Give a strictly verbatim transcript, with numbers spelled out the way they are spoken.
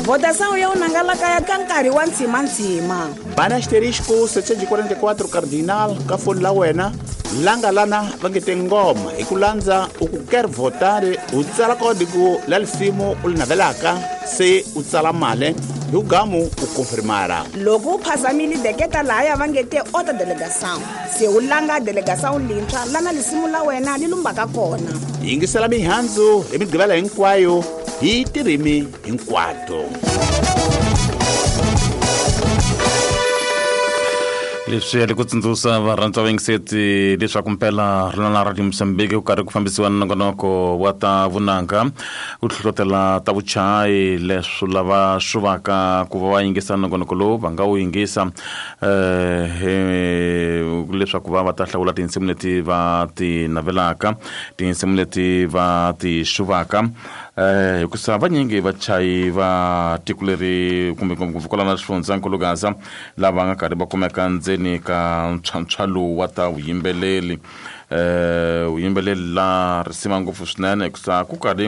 Votação ya unanga kaya ka nkarhi wa ntshimantsima. Bana asterisco setecentos e quarenta e quatro cardinal ka foni la wena langa lana va nge te ngoma hi ku landza u ku quer votar u tsala código la lisimu u li navelaka se u tsala mali hi ugamu u confirmara. Loko u phazamile deketa lahaya va nge te ota delegação se u langa delegação lintshwa lana lisimu la wena li lumbaka kona. Yingisela mihandzu hi migqivela hinkwayo hi tirimi hinkwato. Leswi ali ku tsundzuxa varhandza va yingiseti leswaku mpela ri na Radio Mozambique ku karhi ku fambisiwa nongonoko wa ta vunanga ku hlohlotela ta vuchayi leswi lava swi vaka ku va va yingisa nongonoko lowu va nga wu yingisa eh leswaku va va ta hlawula tinsimu leti va ti navelaka, tinsimu leti va ti xuvaka eh hikusa vanyingi vachayi va tiko leri kumbe ngopfungopfu kwalano xifundzankulu Gaza lava nga karhi va kumeka ndzeni ka ntshwantshwa lowu wa ta vuyimbeleri eh vuyimbeleri la risima ngopfu swinene hikusa ku karhi